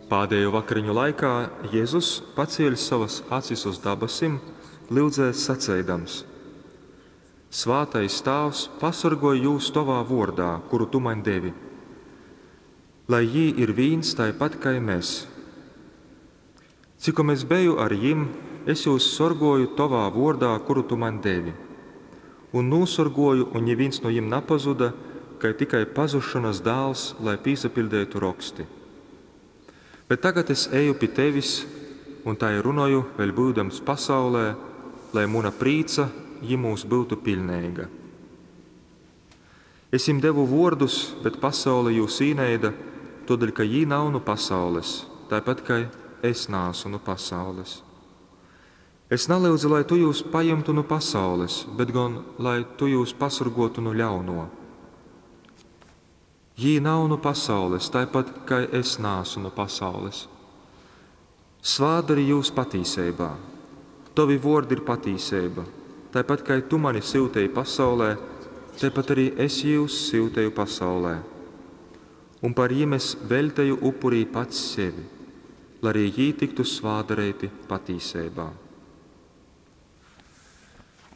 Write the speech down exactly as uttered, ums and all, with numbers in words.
Pādējo vakariņu laikā Jezus, pacieļs sovas acis uz dabasim, lyudzēs saceidams: Svātais Tāvs, pasorgoj jūs tovā vōrdā, kuru tu maņ devi, lai jī ir vīns taipat kai mes. Cikom es beju ar jim, es jūs sorgōju tovā vōrdā, kuru tu maņ devi. Un nūsorgōju, un nivīns nu jim napazuda, kai tikai pazusšonas dāls, lai pīsapiļdeitu Roksti. Bet tagad es eju pi tevis un tai runoju, vēļ byudams pasaulē, lai muna prīca jymūs byutu piļneiga. Es jim devu vōrdus, bet pasaule jūs īneida, tōdēļ ka jī nav nu pasaules, taipat kai es naasu nu pasaules. Es nalyudzu, lai tu jūs pajimtu nu pasaules, bet gon, lai tu jūs pasorgōtu nu ļaunō. Jī nav nu pasaules, taipat kai es naasu nu pasaules. Svātdari jūs patīseibā. Tovi vōrdi ir patīseiba. Taipat kai tu mani syuteji pasaulē, taipat arī es jūs syuteju pasaulē. Un par jim es veļteju upurī pats sevi, lai arī jī tiktu svātdareiti patīseibā.